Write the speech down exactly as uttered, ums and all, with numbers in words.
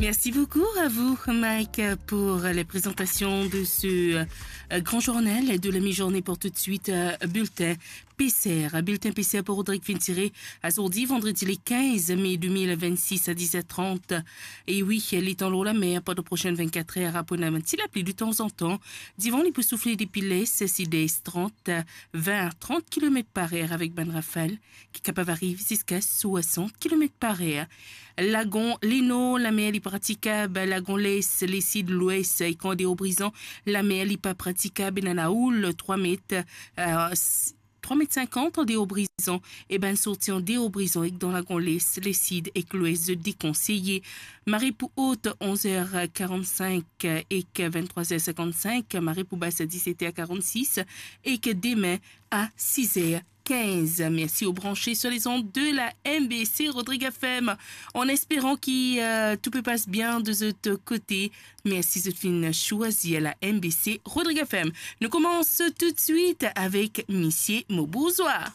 Merci beaucoup à vous, Mike, pour la présentation de ce euh, grand journal de la mi-journée. Pour tout de suite, euh, bulletin P C R. Bulletin P C R pou Rodrig finn tire azordi, vandredi le quinze mai deux mille vingt-six à dix heures trente. E wi, letan lor lamer pandan prosenn vennkat er, pou ena enn ti lapli de tanzantan. Divan li pou soufle depi les, sidès, trant, vin, trant kilomet par er avek bann rafal ki kapav ariv ziska swasant kilomet par er. Lagon Lenor, lamer li pratikab. Lagon Les, Lesid, Lwes ek Andeor Brizan, lamer li pa pratikab. Ena laoul trwa met, euh, s-, trwa met sinkant Andeor Brizan, e bann sorti Andeor Brizan ek dan Lagon Les, Lesid ek Lwes, zot dekonseye. Mare pli ot, onz er karannsink ek venntrwa er sinkannsink, mare pli bas, a diset er karannsis, ek demin a sis er kinz. Merci aux branchés sur les ondes de la M B C Rodrig F M. En espérant que euh, tout peut passe bien de votre côté. Merci zot finn choisi la M B C Rodrig F M. Nous commençons tout de suite avec Misie Mo Bourzois.